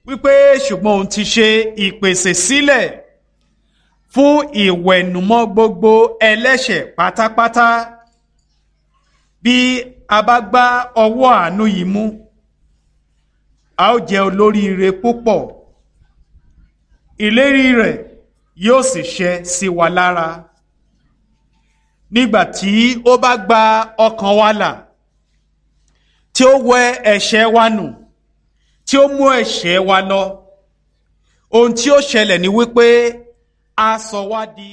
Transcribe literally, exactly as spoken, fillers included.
Wípé ṣùgbọ́n òun ti ṣe ìpèsè sílẹ̀ fún ìwẹ̀nùmọ́ gbogbo ẹlẹ́ṣẹ̀ pátápátá. Bí a bá gbá ọwọ́ àánú yìí mú, a ó jẹ́ olóríire púpọ̀. Ìlérí rẹ̀ yóò sì ṣẹ sí wa lára. Nígbà tí ó bá gba ọkàn wa là, tí ó wẹ ẹ̀ṣẹ̀ wa nù, tí ó mú ẹ̀ṣẹ̀ wa lọ, ohun tí ó ṣẹlẹ̀ ni wípé a sọ wá di